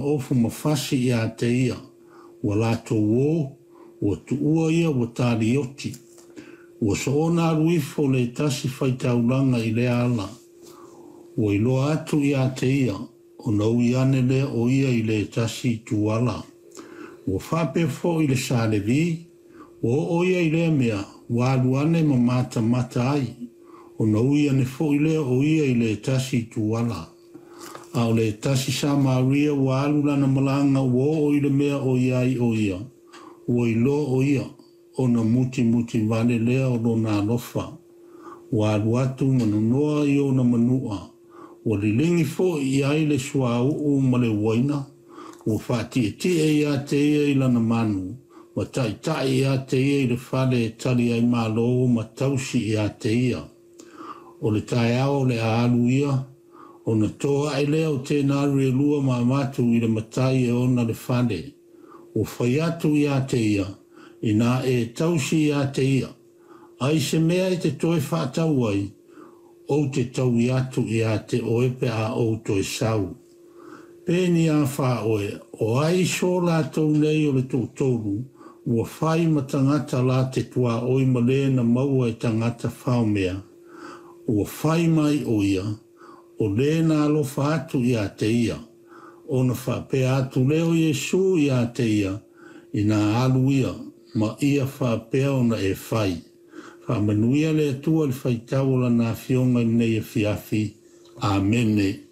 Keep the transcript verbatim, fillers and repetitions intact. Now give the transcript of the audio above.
Ofu ma fasi ia te ia, ua latou o, ua tuua ia ua talioti. Ua soona alu ifo le tasi faitaulaga i lea ala. Ua iloa atu ia te ia, ona ui ane lea o ia i le tasi tuala. Ua faapea foi le sa Levi, ua oo ia i lea mea, ua alu ane ma matamata ai, ona ui ane foi lea o ia i le tasi tuala. A o le tasi Samaria ua alu lana malaga ua oo i le mea o i ai o ia, ua iloa o ia, ona mutimuti vale lea o lona alofa. Ua alu atu ma nonoa i ona manua, ua liligi foi i ai le suauu ma le uaina, ua faatietie ia te ia i lana manu, ma taitai ia te ia i le fale e tali ai malo ma tausi ia te ia. O le taeao o le a alu ia, ona toa ae lea o tenari e lua ma avatu i le matai e ona le fale. Ua fai atu ia te ia, ina e tausi ia te ia, ai se mea e te toe faatau ai, ou te taui atu ia te oe pe a ou toe sau. Pe ni a wha oe, o ai so lātou nei o le toatolu, ua fai ma tangata la te tua oi ma le na maua e tangata whaomea. Ua fai mai o ia, o le na alofa atu ia te ia. Ona faapea atu lea o Iesu ia te ia, ina alu ia, ma ia faapea ona e fai. Faamanuia le Atua i le faitau o lana afioga i lenei afiafi. Amene.